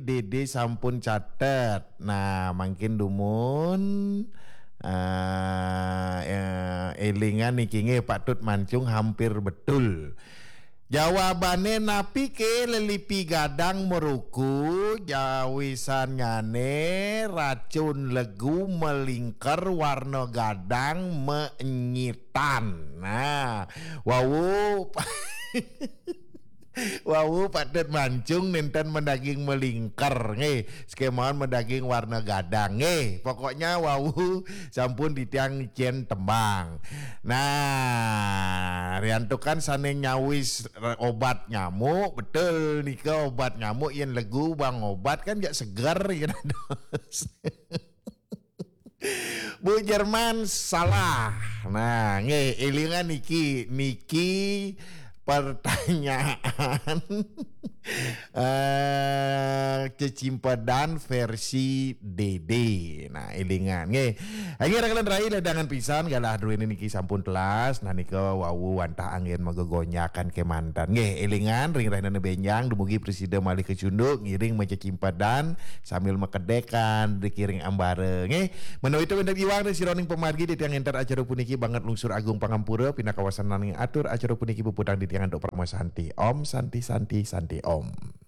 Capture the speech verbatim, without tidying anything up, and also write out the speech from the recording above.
Dede sampun catet. Nah, mangkin dumun, eh, eh, elingan niki nggih, patut mancung hampir betul. Jawabane napi ke lelipi gadang meruku, jawisanyane racun legu melingker warna gadang meenyitan. Nah, wau wau patut mancung nenten medaging melingker nggih, sekemawon medaging warna gadang nggih. Pokoknya wau sampun titiang cen tembang. Nah, riantukan sane nyawis re-, obat nyamuk, betul nika obat nyamuk yen legu bang obat kan jak seger yen dados. Bu Jerman salah. Nah, nggih, elingan niki, niki pertanyaan eh cecimpedan versi Dede. Nah, elingan nggih. Nggih, rakelan rai ledangan pisan galah duene niki sampun telas. Nah, nika wau wantah anggen magegonyakan kemanten. Nggih, elingan ring rahinane benjang dumugi prasida malih kecunduk ngiring macecimpedan sambil makedekan dikiring ambara nggih. Menawi itu wenten iwang ring sironing pamargi titiang entar acara puniki banget lungsur agung pangampura pinakawasan nanging atur acara puniki puputang titiang antuk parama santi. Om Santi Santi Santi Om.